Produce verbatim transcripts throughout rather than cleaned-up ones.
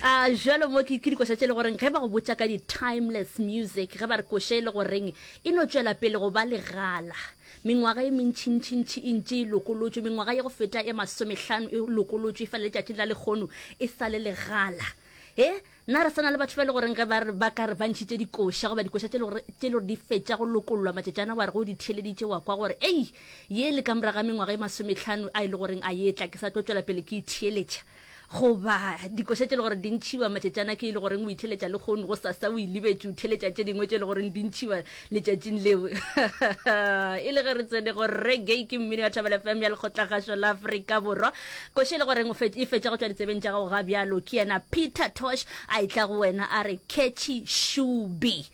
A jalo mo ke ke dikoša tše le goreng ge ba go botša ka di-timeless music, ge ba re koša e le goreng e no tšwela pele go ba legala mengwaga e mentšintšintši e ntše e lokolotšwe, mengwaga ye go feta e masomehlano e lokolotšwe, e fela letšatšing la lekgono e sa le legala. E nna re sana le batho ba e le goreng ge ba re ba ka re ba ntšhitše dikoša goba dikoša tše le gore tše le gore di fetša go lokollwa matšatšana, wa re go di theeleditše wa kwa gore ei, ye le ka morago ga mengwaga e masomehlano a e le goreng a ye tla ke sa tlo tšwela pele ke e theeletša. Goba dikoša tše le gore di ntšhiwa matšatšana ke e le goreng o itheletša le kgono, go sasa o e lebetše o theletša tše dingwe tše le goreng di ntšhiwa letšatšing leo. E le ge re tsene go reggae ke mmino ya Thobela F M ya Lekgotlakgašo la Afrika Borwa. Koša e le goreng e fetša go tšwa ditsebeng tša gago ga bjalo ke yena Peter Tosh a etla go wena a re Catchy Shubi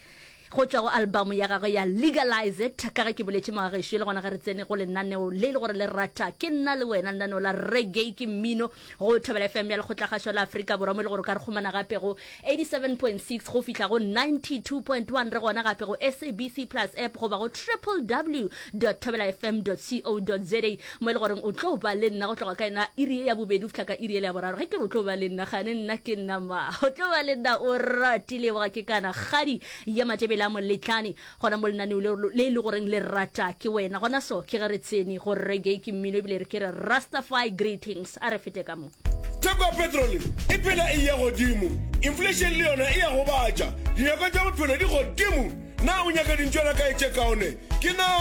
go tšwa go album ya gagwe ya Legalize It. Ka ge ke boletše mogagešo, le gona ge re tsene go lenaneo le le gore le rata ke nna le wena, lenaneo la reggae ke mmino go Thobela F M ya Lekgotlakgašo la Afrika Borwa, mo e le gore o ka re kgomana gape go eighty-seven point six go fihla go ninety-two point one, re gona gape go S A B C Plus app goba go triple W dot thobela F M dot co dot za, mo e le goreng o tlo ba le nna go tloga ka yona iri ye ya bobedi go fihla ka iri yela ya boraro. Ge ke re o tlo ba le nna, gane nna ke nna ma, o tlo ba le nna o ratile boga ke kana kgadi ya Matebele a Moletlane gona mo lenaneo le le e le goreng le rata ke wena. Gona so ke ge re tsene go reggae ke mmino ebile re ke re Rastafari greetings, a re fete ka mo. Theko ya petrole e phela e eya godimo, inflation le yona e a gobatša, dinyakwa tša bophelo di godimo. Na o nyaka dintšwana kae tše kaone? Ke na.